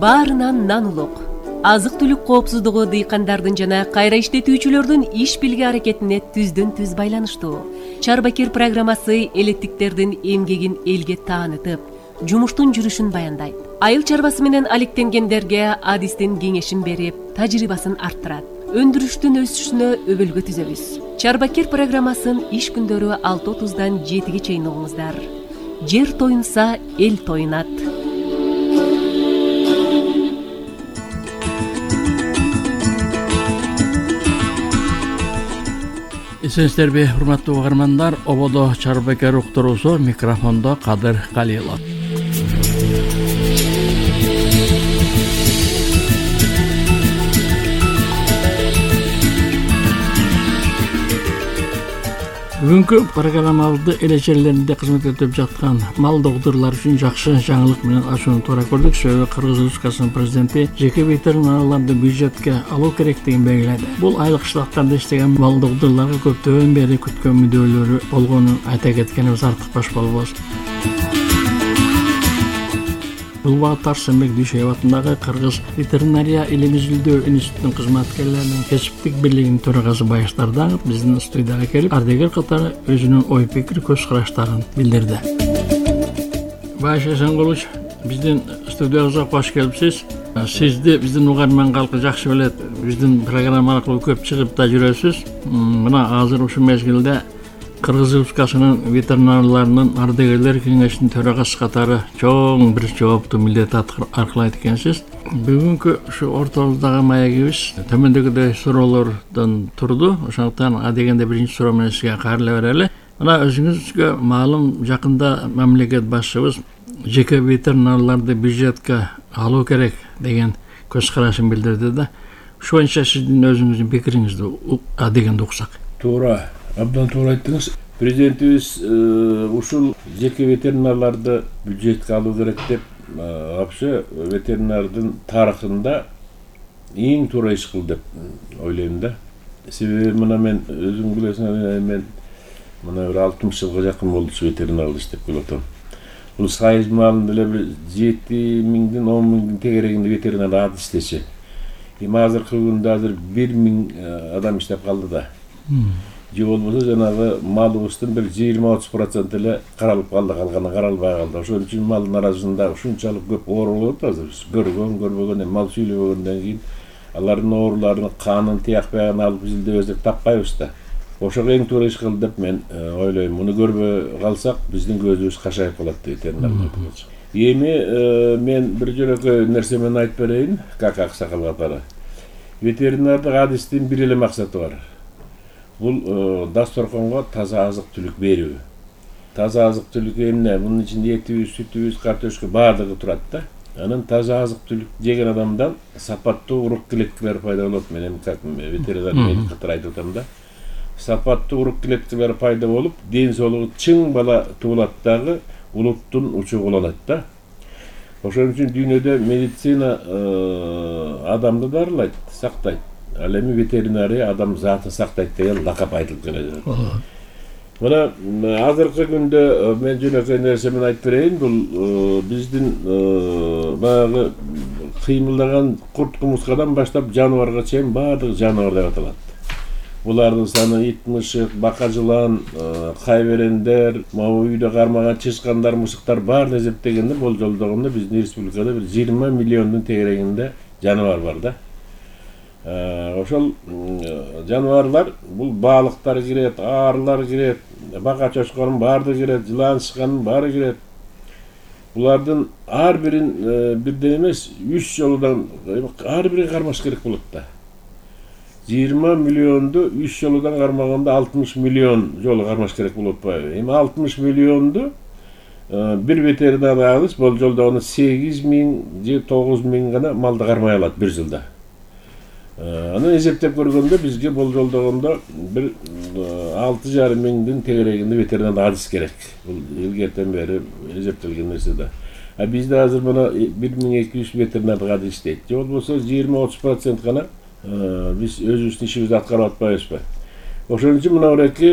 Баарынан нан улук. Азык-түлүк коопсуздугу дыйкандардын жана кайра иштетүүчүлөрдүн иш билги аракетине түздөн-түз байланыштуу. Чарбакер программасы элеттиктердин эмгегин элге таанытып, жумуштун жүрүшүн баяндайт. Айыл чарбасы менен алектенгендерге адистин кеңешин берип, тажрыйбасын арттырат. Өндүрүштүн өсүшүнө өбөлгө түзөбүз. Чарбакер программасын иш күндөрү 6:30-дан 7-ге чейин угуңуздар. Жер тоюнса, эл тоюнат. Эсенсиздерби, урматтуу угармандар, ободо Чарбакер уктуруусу, микрофондо Кадыр Калилов. Бүгүнкү программабызды эле жерлеринде кызмат этип жаткан мал догдурлар үчүн жакшы жаңылык менен ачууну туура көрдүк. Себеби Кыргыз Республикасынын президенти жеке ветеринарларды бюджетке алуу керектигин белгиледи. Бул айылык кышлактарда иштеген мал догдурларга көптөн бери күткөн мүдөлөрү болгонун айта кеткенибиз артыкпаш болбос. Бул багытта Арсенбек Дүйшөев атындагы Кыргыз ветеринария илим изилдөө институтунун кызматкерлеринин кесиптик бирлигинин төрагасы Байыш Дардагов биздин студияга келип, ардегер катары өзүнүн ой пикир, көз караштарын билдирди. Байыш Эсенгулович, биздин студиябызга кош келипсиз. Сизди биздин угарман калкы жакшы билет. Биздин программа аркылуу көп чыгып да жүрөсүз. Мына азыр ушул мезгилде Кыргыз Республикасынын ветеринарларынын ардегерлер кеңешинин төрагасы катары чоң бир жооптуу милдет аркылайт экенсиз. Бүгүнкү ушу ортобуздагы маегибиз төмөндөгүдөй суроолордон турду. Ошондуктан адегенде биринчи суроо менен сизге кайрыла берели. Мына өзүңүзгө маалым, жакында мамлекет башчыбыз жеке ветеринарларды бюджетке алуу керек деген көз карашын билдирди да. Ушул боюнча сиздин өзүңүздүн пикириңизди адегенде уксак. Туура. Абдан туура айттыңыз. Президентибиз ушул жеке ветеринарларды бюджетке алуу керек деп, вообще ветеринардын тарыхында эң туура иш кылды деп ойлойм да. Себеби мына мен өзүң билесиң, мен мына бир 60 жылга жакын болду ветеринарда иштеп келатам. Бул сайыз маалында эле бир 7.000-ден 10.000 тегерегинде ветеринар адыс иштечи. Эми азыркы күндө 1.000 адам иштеп калды да. Же болбосо жанагы малыбыздын бир 20-30% эле каралып калды, калганы каралбай калды. Ошон үчүн малдын арасында ушунчалык көп оору болот азыр. Көрбөгөн, мал сүйлөбөгөндөн кийин алардын ооруларын, канын, тиякпайгын алып изилдебесек таппайбыз да. Ошого эң туура иш кылды деп мен ойлойм. Муну көрбөй калсак биздин көзүбүз кашайып калат ветеринарларга. Эми мен бир жөнөкөй нерсе менен айтып берейин, как аксакал катары. Ветеринардык адистин бир эле максаты бар. Бул дасторконго таза азык-түлүк берүү. Таза азык-түлүк эмне? Мунун ичинде этибиз, сүтүбүз, картошка баардыгы турат да. Анан таза азык-түлүк жеген адамдан сапаттуу урук клеткалар пайда болот. Мен эми как ветеринар медик катары айтып атам да. Сапаттуу урук клеткалар пайда болуп, ден соолугу чың бала туулат дагы улуттун учугу уланат да. Ошон үчүн дүйнөдө медицина адамды дарылайт, сактайт. Ал эми ветеринария адам затын сактайт деген лакап айтылып келет. Мына азыркы күндө мен жөнөкөй нерсе менен айтып берейин. Бул биздин баягы кыймылдаган курт-кумурскадан баштап жаныбарга чейин баардык жаныбар деп аталат. Булардын саны ит, мышык, бака жылан, кайберендер, могу үйдө кармаган чычкандар, мышыктар баарын эсептегенде болжолдогондо биздин республикада бир 20 миллиондун тегерегинде жаныбар бар да. Ошол жаныбарлар, бул балыктар кирет, аарылар кирет, бака чочконун баардыгы кирет, жылан чычкандын баары кирет. Булардын ар бирин бирден эмес 3 жолудан ар бирин кармаш керек болот да. 20 миллионду 3 жолудан кармаганда 60 миллион жолу кармаш керек болуп атпайбы? Эми 60 миллионду бир ветеринар адыс болжолдогондо 8.000 же 9.000 гана малды кармай алат бир жылда. Аны эсептеп көргөндө бизге болжолдогондо бир 6,5 миңдин тегерегинде ветеринар адыс керек. Бул илгертен бери эсептелген нерсе да. Бизде азыр мына 1200 ветеринардык адыс иштейт. Же болбосо 20-30% гана биз өзүбүздүн ишибизди аткарып атпайбызбы? Ошон үчүн мына бураки